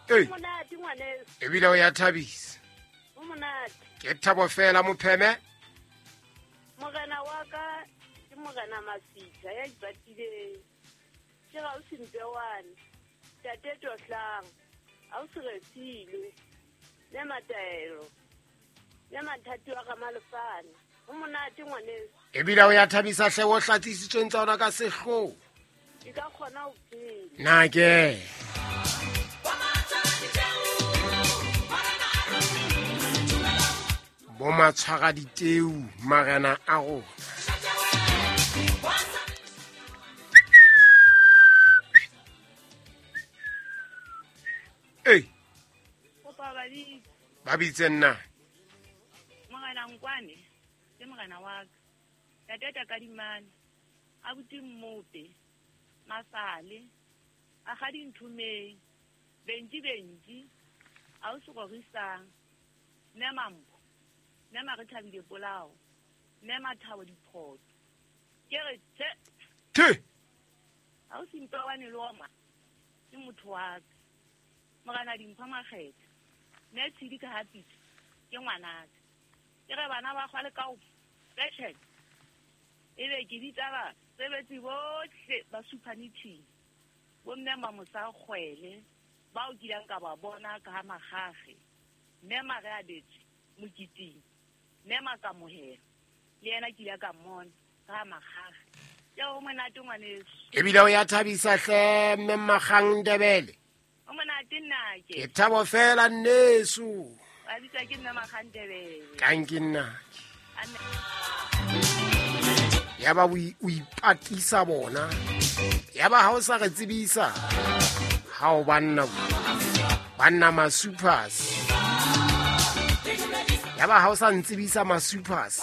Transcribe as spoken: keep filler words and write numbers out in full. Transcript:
Ei. Monate ngwaneso. Ebile o ya thabisa. O monate. Ke thabo fela mopheme. Morena wa ka ke morena Masitha ya ipatileng. Ke ga o sempewane. Tate Tohlang. A o se refilwe. Le mataelo. Le mathati wa ga Malefane. O monate ngwaneso. Ebile o ya thabisa hle o hlatsisitsweng tsa ona ka sehloho. Ke ka kgona ho phela. Na ke. Bo matshwara diteu marena a rona. Ei. Kopa ba bitse. Ba bitse nna. Morena Nkwane ke morena wa ka. Tate Kadimane abuti Mmope Masale a ga dinthumeng bentsi bentsi a o se gorisang mme Mampo mme Marethabile Polao mme Mathabo Diphoto ke re tse the a o sempewane le oma ke motho wa ka morena Dimpho Makgetha mme Tshidi ka hapitse ke ngwanaka ke re bana ba kgwale ka o fashion e be ke bitsa ba sebetsi bohle ba suphanithing bo mme Mamosa Kgwele ba o kileng ka ba bona ka ha Magage mme Mare a betswe mokiting mme Makamohelo le yena ke ile ka mmona ka ha Magage. Ke o monate ngwaneso. Ebile o ya thabisa hle mme Magang Ndebele. O monate nnake. Ke thabo fela nneso. Ba bitsa ke mme Magang Ndebele. Kanke nnake. Ya ba o ipatisa bona. Ya ba ha o sa re tsebisa. Ha o banna banna ma supers. Ya ba ha o sa ntsebisa ma supers.